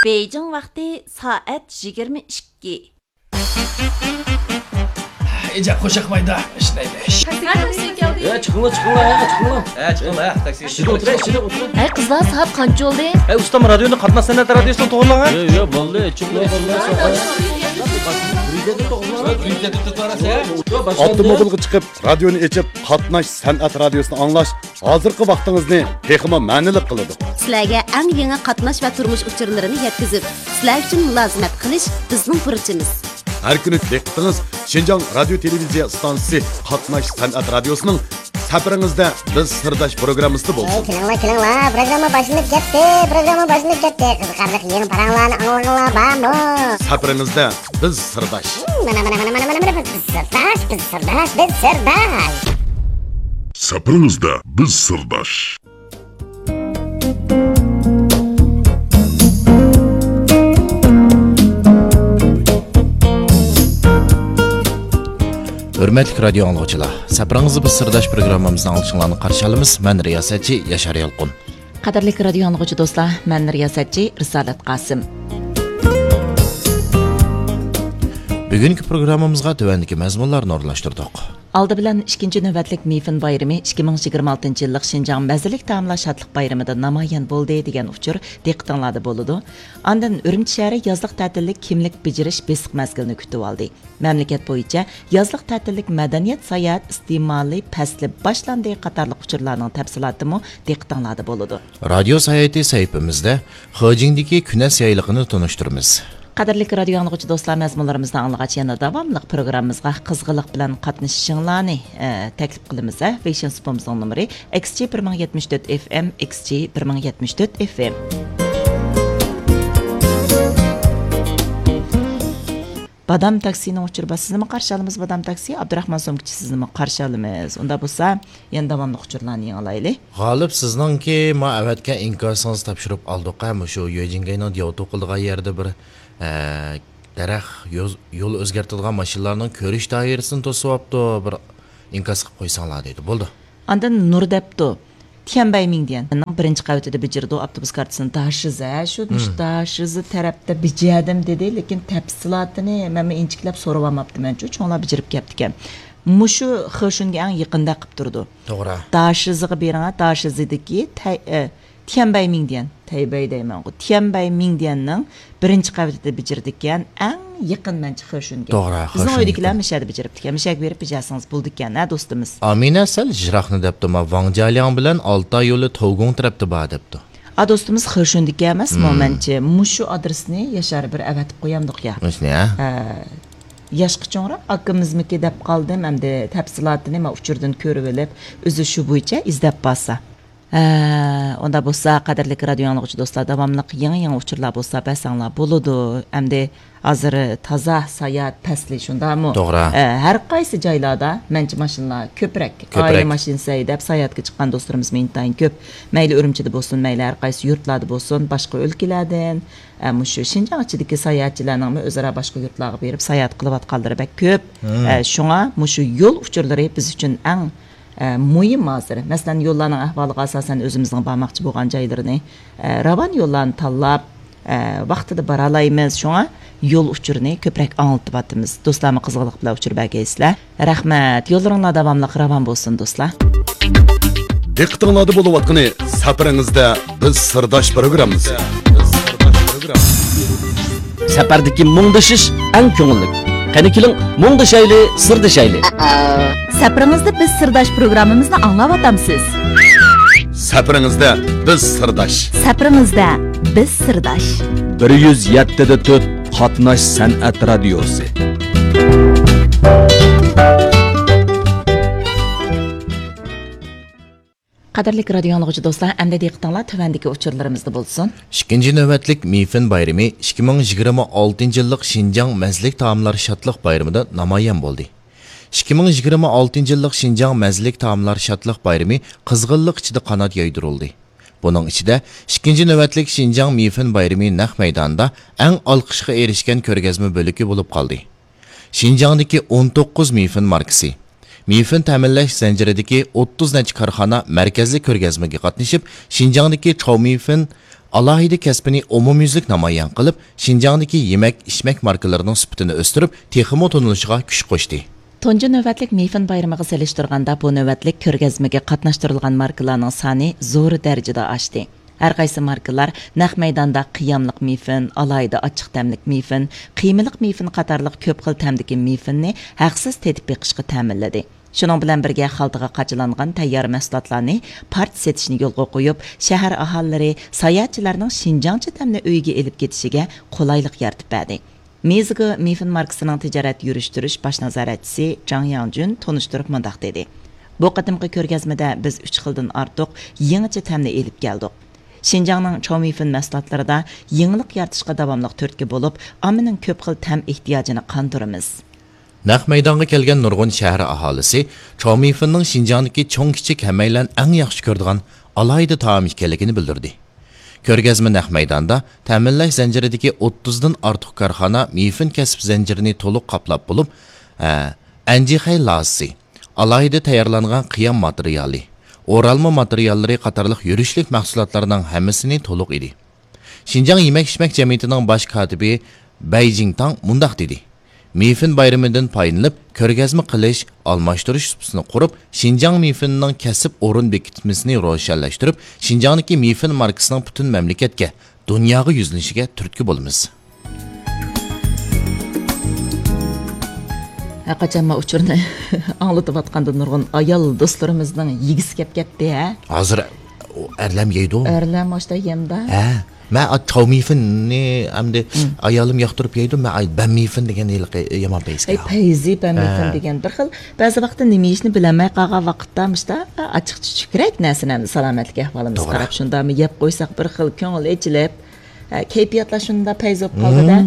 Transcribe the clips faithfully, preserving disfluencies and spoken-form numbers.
بېيجىڭ ۋاقتى سائەت يىگىرمە ئىككى. ئىجاب قوشاقمايدا ئىشلەيلى. ھە، چىقىڭلار، چىقىڭلار، ھە، چىقىڭلار. ھە، چىقىڭلار، ھە، تاكسى. ئىچىدە ئولتۇراي، ئىچىدە ئولتۇراي. ئەي قىزلار، سائەت قانچە بولدى؟ ئەي ئۇستام، رادىيونى قاتناش سەنئەت رادىيوسىنى توغرىلاڭ، ھە. ياق، ياق، بولدى، چىقىڭلار، بولدى. ئاپتوموبىلغا چىقىپ، رادىيونى ئېچىپ، قاتناش سەنئەت رادىيوسىنى ئاڭلاش ھازىرقى ۋاقتىڭىزنى تېخىمۇ مەنىلىك قىلىدۇ. سىلەرگە ئەڭ يېڭى قاتناش ۋە تۇرمۇش ئۇچۇرلىرىنى يەتكۈزۈپ، سىلەر ئۈچۈن مۇلازىمەت قىلىش بىزنىڭ بۇرچىمىز. ھەر كۈنى دىققىتىڭىز شىنجاڭ رادىيو تېلېۋىزىيە ئىستانسىسى قاتناش سەنئەت رادىيوسىنىڭ سەپىرىڭىزدە بىز سىرداش پروگراممىسىدا بولسۇن. ئەي، كېلىڭلار، كېلىڭلار، پروگرامما باشلىنىپ كەتتى، پروگرامما باشلىنىپ كەتتى. قىزىقارلىق يېڭى پاراڭلارنى ئاڭلىغىڭلار بارمۇ؟ سەپىرىڭىزدە بىز سىرداش. مانا، مانا، مانا، مانا، مانا، مانا، بىز سىرداش، بىز سىرداش، بىز سىرداش. سەپىرىڭىزدە بىز سىرداش. ھۆرمەتلىك رادىيو ئاڭلىغۇچىلار، سەپىرىڭىزدە بىز سىرداش پروگراممىمىزنى ئاڭلىشىڭلارنى قارشى ئالىمىز. مەن رىياسەتچى ياشار يالقۇن. قەدىرلىك رادىيو ئاڭلىغۇچى دوستلار، مەن رىياسەتچى رىسالەت قاسىم. بۈگۈنكى پروگراممىمىزغا تۆۋەندىكى مەزمۇنلارنى ئورۇنلاشتۇردۇق. ئالدى بىلەن ئىككىنچى نۆۋەتلىك مىفىن بايرىمى ئىككى مىڭ يىگىرمە ئالتىنچى يىللىق شىنجاڭ مەززىلىك تائاملار شادلىق بايرىمىدا نامايان بولدى دېگەن ئۇچۇر دىققىتىڭلاردا بولىدۇ. ئاندىن ئۈرۈمچى شەھىرى يازلىق تەتىللىك كىملىك بېجىرىش بېسىق مەزگىلىنى كۈتۈۋالدى. مەملىكەت بويىچە يازلىق تەتىللىك مەدەنىيەت ساياھەت ئىستېمالى پەسلى باشلاندى قاتارلىق ئۇچۇرلارنىڭ تەپسىلاتىمۇ دىققىتىڭلاردا بولىدۇ. رادىيو ساياھىتى سەھىپىمىزدە خېجىڭدىكى كۈنەس يايلىقىنى تونۇشتۇرىمىز. قەدىرلىك رادىيو ئاڭلىغۇچى دوستلار، مەزمۇنلىرىمىزنى ئاڭلىغاچ يەنە داۋاملىق پروگراممىمىزغا قىزغىنلىق بىلەن قاتنىشىشىڭلارنى، ئە، تەكلىپ قىلىمىز، ھە. ۋېيشىن سۇپىمىزنىڭ نومۇرى ئىكس جى بىر مىڭ يەتمىش تۆت ئېف ئېم، ئىكس جى بىر مىڭ يەتمىش تۆت ئېف ئېم. بادام تاكسىنىڭ ئۇچۇرى بار. سىزنىمۇ قارشى ئالىمىز، بادام تاكسى. ئابدۇراخمان سومكىچى، سىزنىمۇ قارشى ئالىمىز. ئۇنداق بولسا، يەنە داۋاملىق ئۇچۇرلارنى يېڭىلايلى. غالىپ، سىزنىڭكى ما ئەۋەتكەن ئىنكاسىڭىزنى تاپشۇرۇپ ئالدۇق، ھە، مۇشۇ يۈەجىنگەينىڭ دياۋتۇ قىلىدىغان يەردە بىر، ئە، دەرەخ، يول، يول ئۆزگەرتىدىغان ماشىنىلارنىڭ كۆرۈش دائىرىسىنى توسۇۋاپتۇ، بىر ئىنكاس قىلىپ قويساڭلار دەيدۇ. بولدى. ئاندىن نۇر دەپتۇ. تيەنبەي مىڭديەن. مېنىڭ بىرىنچى قەۋىتىدە بېجىرىدۇ، ئاپتوبۇس كارتىسىنى داشىزى، ھە، شۇ، مۇشۇ داشىزى تەرەپتە بېجەردىم دېدى، لېكىن تەپسىلاتىنى مەنمۇ ئىنچىكىلەپ سورىۋالماپتىمەن، چوڭلار بېجىرىپ كەپتىكەن. مۇشۇ خېشۈنگە ئەڭ يېقىندەك قىلىپ تۇرىدۇ. توغرا. داشىزىغا بېرىڭە، داشىزىدىكى تەي-، ئە، تيەنبەي مىڭديەن، تەيبەي دەيمەنغۇ، تيەنبەي مىڭديەننىڭ بىرىنچى قەۋىتىدە بېجىرىدىكەن، ئەڭ يېقىن مەنچە خېشۈنگە. توغرا، بىزنىڭ خېشۈنگە ئۆيدىكىلەر مۇشەدە بېجىرىپتىكەن، مۇشەگە بېرىپ بېجەرسىڭىز بولىدىكەن، ھە، دوستىمىز. ئامىنە سەل يىراقنى دەپتۇ، ما ۋاڭجيالياڭ بىلەن ئالتاي يولى توۋگۇڭ تەرەپتە بار دەپتۇ. ئا، دوستىمىز خېشۈندىكى ئەمەسمۇ، مەنچە مۇشۇ ئادرېسنى ياشار بىر ئەۋەتىپ قويامدۇق يا. مۇشۇنى، ھە؟ ھە. ياشقا چوڭراق ئاكىمىزمىكى دەپ قالدىم، ئەمدى تەپسىلاتىنى ما ئۇچۇردىن كۆرۈۋېلىپ، ئۆزى شۇ بويىچە ئىزدەپ بارسا. ھە، ئۇنداق بولسا، قەدىرلىك رادىيو ئاڭلىغۇچى دوستلار، داۋاملىق يېڭى-يېڭى ئۇچۇرلار بولسا بەرسەڭلار بولىدۇ. ئەمدى ھازىر تازا ساياھەت پەسلى، شۇنداقمۇ؟ توغرا. ئە، ھەر قايسى جايلاردا مەنچە ماشىنىلار كۆپرەك. كۆپرەك. ئائىلە ماشىنىسى ھەيدەپ ساياھەتكە چىققان دوستلىرىمىزمۇ ئىنتايىن كۆپ. مەيلى ئۈرۈمچىدە بولسۇن، مەيلى ھەر قايسى يۇرتلاردا بولسۇن، باشقا ئۆلكىلەردىن، ئە، مۇشۇ شىنجاڭ ئىچىدىكى ساياھەتچىلەرنىڭمۇ ئۆزئارا باشقا يۇرتلارغا بېرىپ ساياھەت قىلىۋاتقانلىرى بەك كۆپ. ئە، شۇڭا مۇشۇ يول ئۇچۇرلىرى بىز ئۈچۈن ئەڭ ئە، مۇھىم ھازىر. مەسىلەن، يوللارنىڭ ئەھۋالىغا ئاساسەن ئۆزىمىزنىڭ بارماقچى بولغان جايلىرىنى، ئە، راۋان يوللارنى تاللاپ، ئە، ۋاقتىدا بارالايمىز. شۇڭا يول ئۇچۇرىنى كۆپرەك ئاڭلىتىۋاتىمىز. دوستلارمۇ قىزغىنلىق بىلەن ئۇچۇر بەرگەيسىلەر. رەھمەت. يوللىرىڭلار داۋاملىق راۋان بولسۇن، دوستلار. دىققىتىڭلاردا بولۇۋاتقىنى سەپىرىڭىزدە بىز سىرداش پروگراممىسى. سەپەردىكى مۇڭدىشىش ئەڭ كۆڭۈللۈك. قېنى كېلىڭ، مۇڭدىشايلى، سىردىشايلى. سەپىرىڭىزدە بىز سىرداش پروگراممىمىزنى ئاڭلاۋاتامسىز؟ سەپىرىڭىزدە بىز سىرداش. سەپىرىڭىزدە بىز سىرداش. بىر يۈز يەتتە دە تۆت قاتناش سەنئەت رادىيوسى. قەدىرلىك رادىيو ئاڭلىغۇچى دوستلار، ئەمدى دىققىتىڭلار تۆۋەندىكى ئۇچۇرلىرىمىزدا بولسۇن. ئىككىنچى نۆۋەتلىك مىفىن بايرىمى ئىككى مىڭ يىگىرمە ئالتىنچى يىللىق شىنجاڭ مەززىلىك تائاملار شادلىق بايرىمىدا نامايان بولدى. ئىككى مىڭ يىگىرمە ئالتىنچى يىللىق شىنجاڭ مەززىلىك تائاملار شادلىق بايرىمى قىزغىنلىق ئىچىدە قانات يايدۇرۇلدى. بۇنىڭ ئىچىدە ئىككىنچى نۆۋەتلىك شىنجاڭ مىفىن بايرىمى نەق مەيدانىدا ئەڭ ئالقىشقا ئېرىشكەن كۆرگەزمە بۆلىكى بولۇپ قالدى. شىنجاڭدىكى ئون توققۇز مىفىن ماركىسى، مىفىن تەمىنلەش زەنجىرىدىكى ئوتتۇز نەچچە كارخانا مەركەزلىك كۆرگەزمىگە قاتنىشىپ، شىنجاڭدىكى چاۋ مىفىن ئالاھىدە كەسپىنى ئومۇميۈزلۈك نامايان قىلىپ، شىنجاڭدىكى يېمەك، ئىچمەك ماركىلىرىنىڭ سۈپىتىنى ئۆستۈرۈپ، تېخىمۇ تونۇلۇشىغا كۈچ قوشتى. تۇنجى نۆۋەتلىك مىفىن بايرىمىغا سېلىشتۇرغاندا، بۇ نۆۋەتلىك كۆرگەزمىگە قاتناشتۇرۇلغان ماركىلارنىڭ سانى زور دەرىجىدە ئاشتى. ھەر قايسى ماركىلار نەق مەيداندا قىياملىق مىفىن، ئالاھىدە ئاچچىق تەملىك مىفىن، قىيمىلىق مىفىن قاتارلىق كۆپ خىل تەمدىكى مىفىننى ھەقسىز تېتىپ بېقىشقا تەمىنلىدى. شۇنىڭ بىلەن بىرگە، خالتىغا قاچىلانغان تەييار مەھسۇلاتلارنى پارچە سېتىشنى يولغا قويۇپ، شەھەر ئاھالىلىرى، ساياھەتچىلەرنىڭ شىنجاڭچە تەمنى ئۆيىگە ئېلىپ كېتىشىگە قولايلىق يارىتىپ بەردى. مىزىگو مىفىن ماركىسىنىڭ تىجارەت يۈرۈشتۈرۈش باش نازارەتچىسى جاڭ ياڭجۈن تونۇشتۇرۇپ مۇنداق دېدى: بۇ قېتىمقى كۆرگەزمىدە بىز ئۈچ خىلدىن ئارتۇق يېڭىچە تەمنى ئېلىپ كەلدۇق. شىنجاڭنىڭ چاۋمىفىن مەھسۇلاتلىرىدا يېڭىلىق يارىتىشقا داۋاملىق تۈرتكە بولۇپ، ئاممىنىڭ كۆپ خىل تەم ئېھتىياجىنى قاندۇرىمىز. نەق مەيدانغا كەلگەن نۇرغۇن شەھەر ئاھالىسى چاۋمىفىننىڭ شىنجاڭدىكى چوڭ-كىچىك ھەممەيلەن ئەڭ ياخشى كۆرىدىغان ئالاھىدە تائام ئىكەنلىكىنى بىلدۈردى. كۆرگەزمە نەق مەيداندا تەمىنلەش زەنجىرىدىكى ئوتتۇزدىن ئارتۇق كارخانا مىفىن كەسىپ زەنجىرىنى تولۇق قاپلاپ بولۇپ، ئە، ئەنجىخەي لازىسى، ئالاھىدە تەييارلانغان قىيام ماتېرىيالى، ئورالما ماتېرىياللىرى قاتارلىق يۈرۈشلۈك مەھسۇلاتلارنىڭ ھەممىسىنى تولۇق ئىدى. شىنجاڭ يېمەك-ئىچمەك جەمئىيىتىنىڭ باش كاتىپى بەي جىڭتاڭ مۇنداق دېدى: مىفىن بايرىمىدىن پايدىلىنىپ، كۆرگەزمە قىلىش، ئالماشتۇرۇش سۇپىسىنى قۇرۇپ، شىنجاڭ مىفىنىنىڭ كەسىپ ئورۇن بېكىتمىسىنى روشەنلەشتۈرۈپ، شىنجاڭدىكى مىفىن ماركىسىنىڭ پۈتۈن مەملىكەتكە، دۇنياغا يۈزلىنىشىگە تۈرتكە بولىمىز. ھەرقاچان ما ئۇچۇرنى ئاڭلىتىۋاتقاندا نۇرغۇن ئايال دوستلىرىمىزنىڭ يېگۈسى كەپ كەتتى، ھە؟ ھازىر ئەرلەم يەيدۇ. ئەرلەم ئاشتا يەمدا. ھە. مەن چاۋمىفىننى ئەمدى ئايالىم ياقتۇرۇپ يەيدۇ. مەن بەنمىفىن دېگەن ھېلىقى يامان پەيزى. ئەي، پەيزى بەنمىفىن دېگەن. بىر خىل، بەزى ۋاقىتتا نېمە يېيىشنى بىلەلمەي قالغان ۋاقىتتا مۇشتا ئاچچىق چۈچۈكرەك نەرسىنى ئەمدى سالامەتلىك ئەھۋالىمىزغا قاراپ شۇنداقمۇ يەپ قويساق بىر خىل كۆڭۈل ئېچىلىپ، ئە، كەيپىياتلار شۇنداق پەيز بولۇپ قالغۇدە.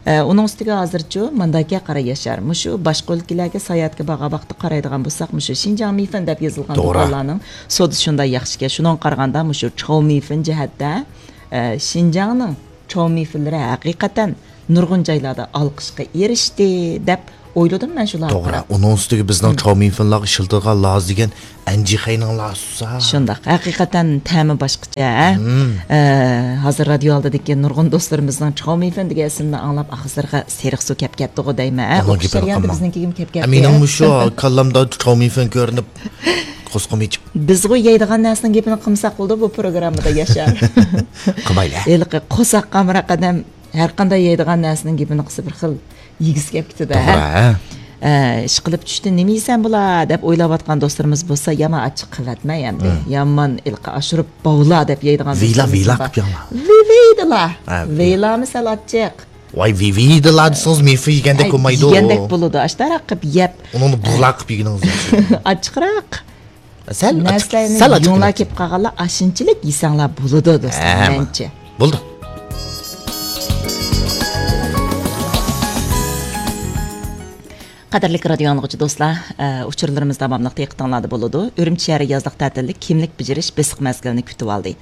ئە، ئۇنىڭ ئۈستىگە ھازىرچۇ مانداكە قارا ياشار. مۇشۇ باشقا ئۆلكىلەرگە ساياھەتكە بارغان ۋاقىتتا قارايدىغان بولساق، مۇشۇ شىنجاڭ مىفىن دەپ يېزىلغان دۇكانلارنىڭ سودىسى شۇنداق ياخشىكەن. شۇنىڭغا قارىغاندا مۇشۇ چاۋمىفىن جەھەتتە، ئە، شىنجاڭنىڭ چاۋمىفىنلىرى ھەقىقەتەن نۇرغۇن جايلاردا ئالقىشقا ئېرىشتى دەپ ئويلىدىم مەن شۇلارغا قاراپ. توغرا، ئۇنىڭ ئۈستىگە بىزنىڭ چاۋمىفىنلارغا ئىشلىتىدىغان لازا دېگەن ئەنجىخەينىڭ لازىسى. شۇنداق، ھەقىقەتەن تەمى باشقىچە. ئە، ھازىر رادىيو ئالدىدىكى نۇرغۇن دوستلىرىمىزنىڭ چاۋمىفىن دېگەن ئىسىمنى ئاڭلاپ ئاغزىلىرىغا سېرىق سۇ كەپ كەتتىغۇ دەيمەن. ئە، ئۇنىڭ ئوخشاش گېپىنى جەرياندا قىلماڭ. بىزنىڭكىگىمۇ كەپ كەتتى. مېنىڭمۇ شۇ كاللامدا چاۋمىفىن كۆرۈنۈپ قورسىقىم ئېچىپ. بىزغۇ يەيدىغان نەرسىنىڭ گېپىنى قىلمىساق بولىدۇ بۇ پروگراممىدا ياشار. قىلمايلى. ھېلىقى قورساق قامراق ئادەم ھەرقانداق يەيدىغان نەرسىنىڭ گېپىنى قىلسا بىر خىل يېگۈسى كەپ كېتىدۇ، ھە؟ توغرا، ھە. ئە، ئىشقىلىپ چۈشتە نېمە يېسەم بولا دەپ ئويلاۋاتقان دوستلىرىمىز بولسا يامان ئاچچىق قىلىۋەتمەي ئەمدى. يامان ھېلىقى ئاشۇرۇپ باۋلا دەپ يەيدىغان ۋىلا، دوستلىرىمىز ۋىلا بار. قىلىپ يەڭلار. ۋىۋىدىلا. ھە، ۋىلا. ۋىلامۇ سەل ئاچچىق. ۋاي، ۋىۋىدىلا دېسىڭىز مېفى يېگەندەك ئەي، بولمايدۇ. يېگەندەك بولىدۇ. ئاشتاراق قىلىپ يەپ. ئۇنىڭنى بۇغلا قىلىپ يېگىنىڭىز ياخشى. ئاچچىقراق. سەل ئاچچىق، نەرسىلەرنى سەل ئاچچىق يۇڭلار دېمەكچى. كېلىپ قالغانلار ئاشۇنچىلىك يېسەڭلار بولىدۇ، دوستلار، ھە، مەنچە. بولدى. قەدىرلىك رادىيو ئاڭلىغۇچى دوستلار، ئە، ئۇچۇرلىرىمىز داۋاملىق دىققىتىڭلاردا بولىدۇ. ئۈرۈمچى شەھىرى يازلىق تەتىللىك كىملىك بېجىرىش بېسىق مەزگىلىنى كۈتۈۋالدى.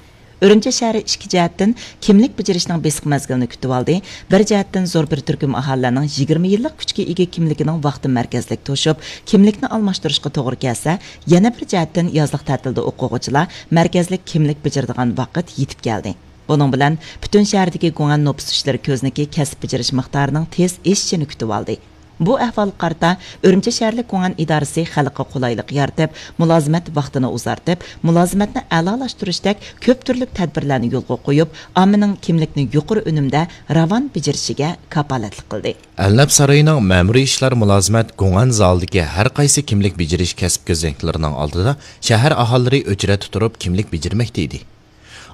ئۈرۈمچى شەھىرى ئىككى جەھەتتىن كىملىك بېجىرىشنىڭ بېسىق مەزگىلىنى كۈتۈۋالدى. بىر جەھەتتىن زور بىر تۈركۈم ئاھالىلەرنىڭ يىگىرمە يىللىق كۈچكە ئىگە كىملىكىنىڭ ۋاقتى مەركەزلىك توشۇپ، كىملىكنى ئالماشتۇرۇشقا توغرا كەلسە، يەنە بىر جەھەتتىن يازلىق تەتىلدە ئوقۇغۇچىلار مەركەزلىك كىملىك بېجىرىدىغان ۋاقىت يېتىپ كەلدى. بۇنىڭ بىلەن پۈتۈن شەھەردىكى گۇڭئەن نوپۇس ئىشلىرى كۆزنىكى كەسىپ بېجىرىش مىقدارىنىڭ تېز ئېشىشىنى كۈتۈۋالدى. بۇ ئەھۋالغا قارىتا، ئۈرۈمچى شەھەرلىك گۇڭئەن ئىدارىسى خەلققە قولايلىق يارىتىپ، مۇلازىمەت ۋاقتىنى ئۇزارتىپ، مۇلازىمەتنى ئەلالاشتۇرۇشتەك كۆپ تۈرلۈك تەدبىرلەرنى يولغا قويۇپ، ئاممىنىڭ كىملىكنى يۇقىرى ئۈنۈمدە راۋان بېجىرىشىگە كاپالەتلىك قىلدى. ئەلنەپ سارىيىنىڭ مەمۇرىي ئىشلار مۇلازىمەت گۇڭئەن زالىدىكى ھەر قايسى كىملىك بېجىرىش كەسىپ كۆزنەكلىرىنىڭ ئالدىدا شەھەر ئاھالىلىرى ئۆچرەتتە تۇرۇپ كىملىك بېجىرمەكتە ئىدى.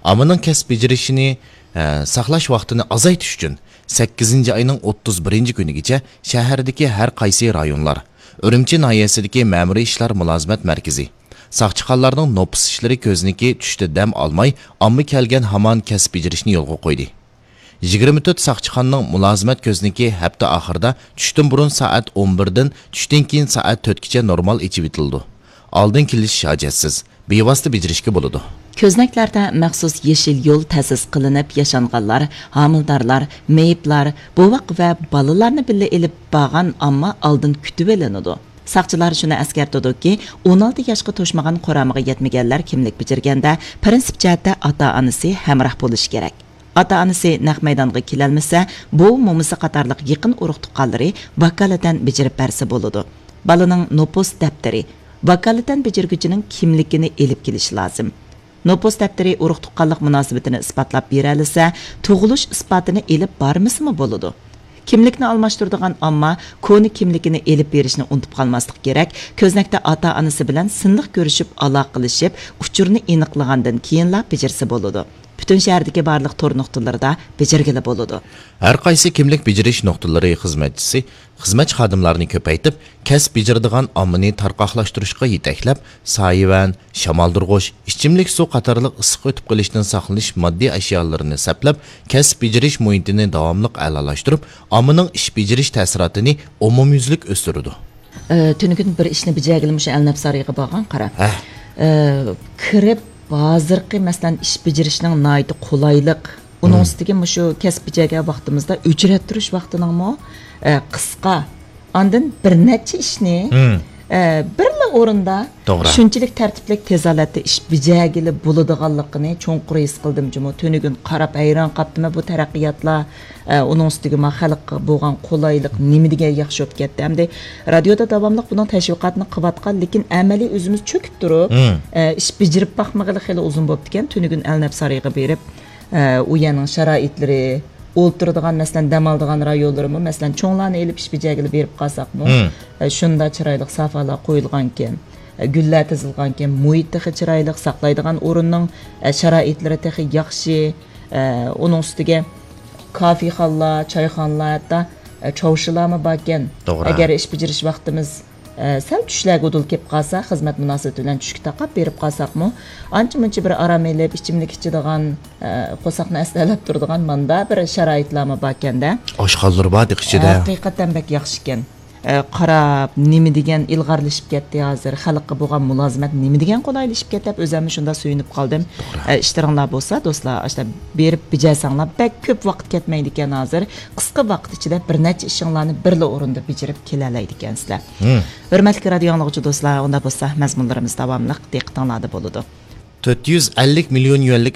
ئاممىنىڭ كەسىپ بېجىرىشىنى، ئە، ساقلاش ۋاقتىنى ئازايتىش ئۈچۈن، سەككىزىنچى ئاينىڭ ئوتتۇز بىرىنچى كۈنىگىچە شەھەردىكى ھەر قايسى رايونلار، ئۈرۈمچى ناھىيەسىدىكى مەمۇرىي ئىشلار مۇلازىمەت مەركىزى، ساقچىخانىلارنىڭ نوپۇس ئىشلىرى كۆزنىكى چۈشتە دەم ئالماي، ئامما كەلگەن ھامان كەسىپ بېجىرىشنى يولغا قويدى. يىگىرمە تۆت ساقچىخانىنىڭ مۇلازىمەت كۆزنىكى ھەپتە ئاخىرىدا چۈشتىن بۇرۇن سائەت ئون بىردىن چۈشتىن كېيىن سائەت تۆتكىچە نورمال ئېچىۋېتىلىدۇ. ئالدىن كېلىش ھاجەتسىز، بىۋاسىتە بېجىرىشكە بولىدۇ. كۆزنەكلەردە مەخسۇس يېشىل يول تەسىس قىلىنىپ، ياشانغانلار، ھامىلىدارلار، مېيىپلار، بوۋاق ۋە بالىلارنى بىللە ئېلىپ بارغان ئامما ئالدىن كۈتۈۋېلىنىدۇ. ساقچىلار شۇنى ئەسكەرتىدۇكى، ئون ئالتە ياشقا توشمىغان قۇرامىغا يەتمىگەنلەر كىملىك بېجىرگەندە، پىرىنسىپ جەھەتتە ئاتا-ئانىسى ھەمراھ بولۇشى كېرەك. ئاتا-ئانىسى نەق مەيدانغا كېلەلمىسە، بوۋا-مومىسى قاتارلىق يېقىن ئۇرۇق-تۇغقانلىرى ۋاكالىتەن بېجىرىپ بەرسە بولىدۇ. بالىنىڭ نوپۇس دەپتىرى، ۋاكالىتەن بېجىرگۈچىنىڭ كىملىكىنى ئېلىپ كېلىشى لازىم. نوپۇس دەپتىرى ئۇرۇق-تۇغقانلىق مۇناسىۋىتىنى ئىسپاتلاپ بېرەلىسە، تۇغۇلۇش ئىسپاتىنى ئېلىپ بارمىسىمۇ بولىدۇ. كىملىكنى ئالماشتۇرىدىغان ئامما كونا كىملىكىنى ئېلىپ بېرىشنى ئۇنتۇپ قالماسلىقى كېرەك، كۆزنەكتە ئاتا-ئانىسى بىلەن سىنلىق كۆرۈشۈپ، ئالاقىلىشىپ، ئۇچۇرنى ئېنىقلىغاندىن كېيىنلا بېجىرسە بولىدۇ. پۈتۈن شەھەردىكى بارلىق تور نۇقتىلىرىدا بېجىرگىلى بولىدۇ. ھەر قايسى كىملىك بېجىرىش نۇقتىلىرى خىزمەتچىسى خىزمەتچى خادىملارنى كۆپەيتىپ، كەسىپ بېجىرىدىغان ئاممىنى تارقاقلاشتۇرۇشقا يېتەكلەپ، سايىۋەن، شامالدۇرغۇچ، ئىچىملىك سۇ قاتارلىق ئىسسىق ئۆتۈپ قېلىشتىن ساقلىنىش ماددىي ئەشيالىرىنى سەپلەپ، كەسىپ بېجىرىش مۇھىتىنى داۋاملىق ئەلالاشتۇرۇپ، ئاممىنىڭ ئىش بېجىرىش تەسىراتىنى ئومۇميۈزلۈك ئۆستۈرىدۇ. ئە، تۈنۈگۈن بىر ئىشنى بېجەرگىلى مۇشۇ ئەلنەپ سارىيىغا بارغان قارا. ھە. ئە، كىرىپ، ھازىرقى، مەسىلەن، ئىش بېجىرىشنىڭ ناھايىتى قولايلىق. ئۇنىڭ مم. ئۈستىگە مۇشۇ كەسىپ بېجەرگەن ۋاقتىمىزدا ئۆچرەتتۈرۈش ۋاقتىنىڭمۇ، ئە، قىسقا. ئاندىن بىر نەچچە ئىشنى، مم. ئە، بىرلا ئورۇندا توغرا. شۇنچىلىك تەرتىپلىك، تېز ھالەتتە ئىش بېجەرگىلى بولىدىغانلىقىنى چوڭقۇر ھېس قىلدىم جۇمۇ. تۈنۈگۈن قاراپ ھەيران قاپتىمەن بۇ تەرەققىياتلار، ئە، ئۇنىڭ ئۈستىگە ما خەلققە بولغان قولايلىق نېمە دېگەن ياخشى بولۇپ كەتتى. ئەمدى رادىيودا داۋاملىق بۇنىڭ تەشۋىقاتىنى قىلىۋاتقان، لېكىن ئەمەلىي ئۆزىمىز چۆكۈپ تۇرۇپ، مم. ئە، ئىش بېجىرىپ باقمىغىلى خېلى ئۇزۇن بوپتىكەن. تۈنۈگۈن ئەلنەپ سارىيىغا بېرىپ، ئە، ئۇ يەرنىڭ شارائىتلىرى، ئولتۇرىدىغان، مەسىلەن، دەم ئالىدىغان رايونلىرىمۇ، مەسىلەن، چوڭلارنى ئېلىپ ئىش بېجەرگىلى بېرىپ قالساقمۇ، مم. ئە، شۇنداق چىرايلىق سافالار قويۇلغانكەن، ئە، گۈللەر تىزىلغانكەن، مۇھىت تېخى چىرايلىق، ساقلايدىغان ئورۇننىڭ، ئە، شارائىتلىرى تېخى ياخشى. ئە، ئۇنىڭ ئۈستىگە كافېخانىلار، چايخانىلار، ھەتتا، ئە، چاۋشىلارمۇ باركەن. توغرا. ئەگەر ئىش بېجىرىش ۋاقتىمىز، ئە، سەل چۈشلەرگە ئۇدۇل كېلىپ قالسا، خىزمەت مۇناسىۋىتى بىلەن چۈشكە تاقاپ بېرىپ قالساقمۇ، ئانچە-مۇنچە بىر ئارام ئېلىپ، ئىچىملىك ئىچىدىغان، ئە، قورساقنى ئەستەلەپ تۇرىدىغان ماندا بىر شارائىتلارمۇ باركەن-دە. ئاشخانىلىرى بار دېيىش ئىچىدە. ھەقىقەتەن بەك ياخشىكەن. ئە، قاراپ، نېمە دېگەن ئىلغارلىشىپ كەتتى ھازىر، خەلققە بولغان مۇلازىمەت نېمە دېگەن قولايلىشىپ كەتتى دەپ، ئۆزۈممۇ شۇنداق سۆيۈنۈپ قالدىم. توغرا. ئە، ئىشلىرىڭلار بولسا، دوستلار، ئاشۇنداق بېرىپ بېجەرسەڭلار، بەك كۆپ ۋاقىت كەتمەيدىكەن ھازىر. قىسقا ۋاقىت ئىچىدە بىر نەچچە ئىشىڭلارنى بىرلا ئورۇندا بېجىرىپ كېلەلەيدىكەنسىلەر. مم. ھۆرمەتلىك رادىيو ئاڭلىغۇچى دوستلار، ئۇنداق بولسا، مەزمۇنلىرىمىز داۋاملىق دىققىتىڭلاردا بولىدۇ. تۆت يۈز ئەللىك مىليون يۈەنلىك